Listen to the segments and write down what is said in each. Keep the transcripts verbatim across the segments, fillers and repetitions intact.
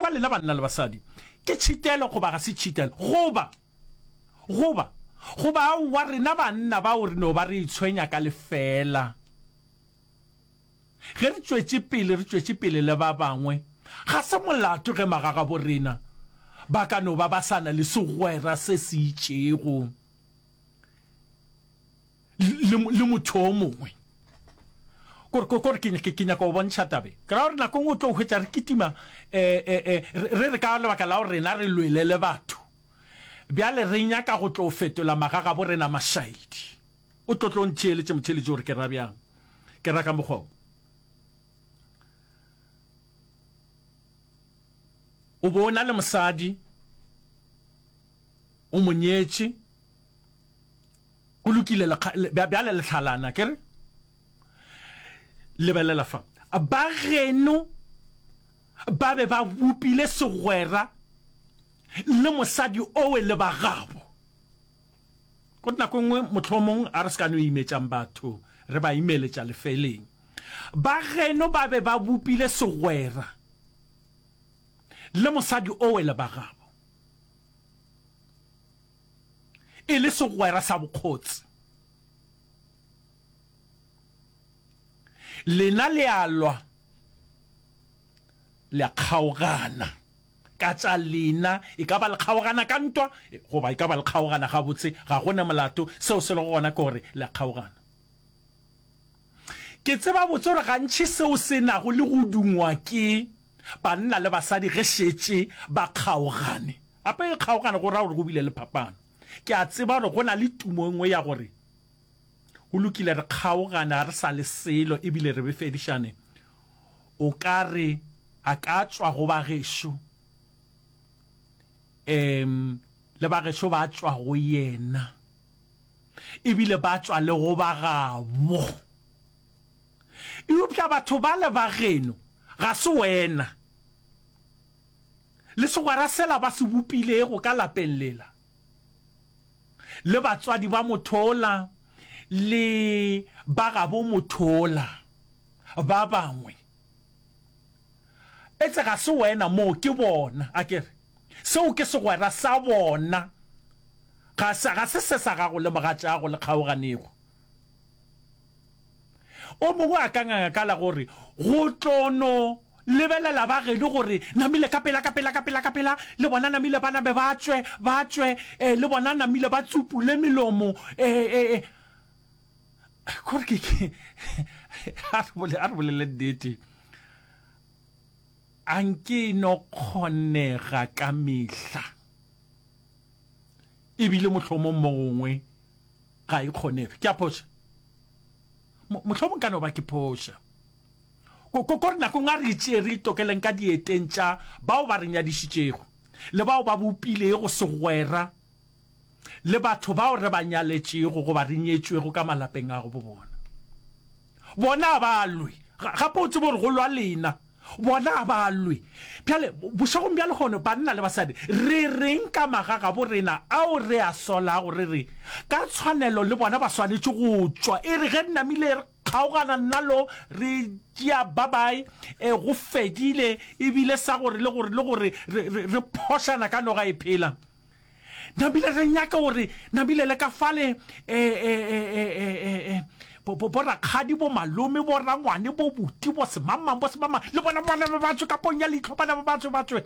kwa lena banna le basadi, ke tšhitelo goba ga se tšhitelo? Goba, goba, goba aowa rena banna bao re no ba re itshwenya ka lefeela. Ge re tšwetše pele, re tšwetše pele le ba bangwe. Ga se molato ge magagabo rena ba ka no ba ba sa na le segwera se se itšego le, le motho o mongwe. Kore, kore ke, ke, ke nyaka go bontšha tabe. Ke ra gore nako nngwe o tlo hwetša re kitima, eh, eh, eh, re re ka lebaka la gore rena re lwele le batho. Bjale re nyaka go tlo fetola magagabo rena mašaedi. O tlo tlo ntheeletše motheeletši gore ke ra bjang. Ke ra ka mokgwa wo. O bo o na le mosadi, o mo nyetše, go lokile, bjale le hlalana, ke re? Lebelela fa. Ba geno ba be ba bopile segwera le mosadi owe le ba gabo. Go nako e nngwe mohlomong a re se ka no imetšang batho, re ba imeletša lefeleng. Ba geno ba be ba bopile segwera le mosadi owe le ba gabo, e le segwera sa bokgotse. Lena le a lwa, le a kgaogana ka tša lena, e ka ba le kgaogana ka ntwa goba e ka ba le kgaogana gabotse, ga go na molato. Seo se lego gona ke gore le a kgaogana. Ke tseba botse gore gantši seo se nago le go dungwa ke banna le basadi ge šetše ba kgaogane. Gape ge kgaogane go ra gore go bile le phapano. Ke a tseba gore go na le tumo e nngwe ya gore go lokile re kgaogane, ga re sa le selo ebile re befedišane. O ka re a ka tšwa go ba gešo, um le ba gešo ba tšwa go yena, ebile ba tšwa le go ba gabo. Eupša batho bale ba geno ga se wena, le segwera sela ba se bopilego ka lapeng lela, le batswadi ba motho ola, le ba gabo motho ola ba bangwe. Etse ga se wena moo, ke bona. A ke re, seo ke segwera sa bona, ga se, ga se se sa gago le mogatšago le kgaoganego. O mongwe a ka nganga ka la gore go tlo no lebelela ba geno gore namile ka pela, ka pela, ka pela, ka pela, le bona namile ba nabe ba tšwe, ba tšwe, eh, le bona namile ba tsupule melomo, eh, eh, eh. Kore ke, ke, a re bole, a re bolele nnete. A nke e no kgonega ka mehla. Ebile mohlomong mo gongwe ga e kgonege. Ke a phoša? Mohlomong ka no ba ke phoša. Ko, ko, ko re nakong a re itšee re itokeleng ka dieteng tša bao ba re nyadišitšego, le bao ba bopilego segwera le batho bao re ba nyaletšego goba re nyetšwego ka malapeng a bo bona. Bona a ba lwe. Gape o tsebe gore go lwa lena. Bona a ba lwe. Bjale, bošegong bja lehono, banna le basadi, re reng ka magagabo rena ao re a solago, re re, ka tshwanelo le bona ba swanetše go tšwa. E re ge re namile re kgaogana nna lo, re tšea babae, e, go fedile, ebile sa gore le gore le gore re, re, re phošana ka noga e phela. Namile re nyaka gore namile le ka fale e, e, e, e, e, e, bo, bo, bo rakgadi, bo malome, bo rangwane, bo buti, bo semangmang, bo semangmang, le bona bona ba ba tswe ka pong ya leihlo, bana ba ba tswe, ba tswe.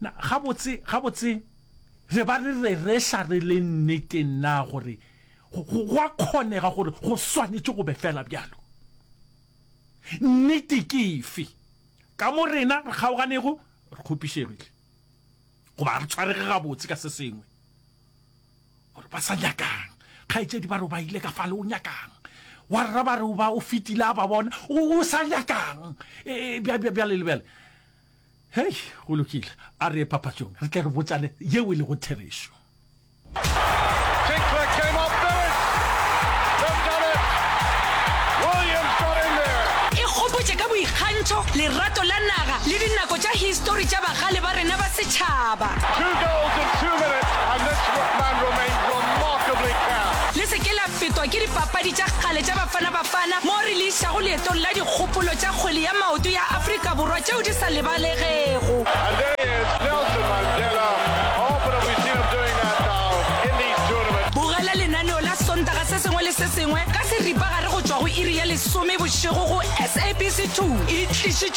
Na, gabotse, gabotse, re ba re rereša re le nneteng na gore go, go, go a kgonega gore go swanetše go be fela bjalo? Nnete ke efe? Ka mo rena re kgaoganego, re kgopišegile. Goba re tshwarege gabotse ka se sengwe, gore ba sa nyakang. Kgaetšedi ba re o ba ile ka fale, o nyakang? Wa rra ba re o ba o fetile a ba bona, o, o sa nyakang? E, e, bja, bja, bjale le bjale. Hei, go lokile. A re ye papatšong, re tle re botšane yeo e lego therešo. Tinkler came up with it. They've done it. Williams got in there. E gopotše ka boikgantšho, lerato la naga le dinako tša histori tša bagale ba rena ba setšhaba. Two goals in two minutes and this man remains remarkably calm. Le se ke la fetwa ke dipapadi tša kgale tša Bafana Bafana mo re le išago leetong la dikgopolo tša kgwele ya maoto ya Afrika Borwa tšeo di sa lebalegego. And there se sengwe ka seripagare go tšwa go iri ya lesome bošego go SABC two. E tlišitšwe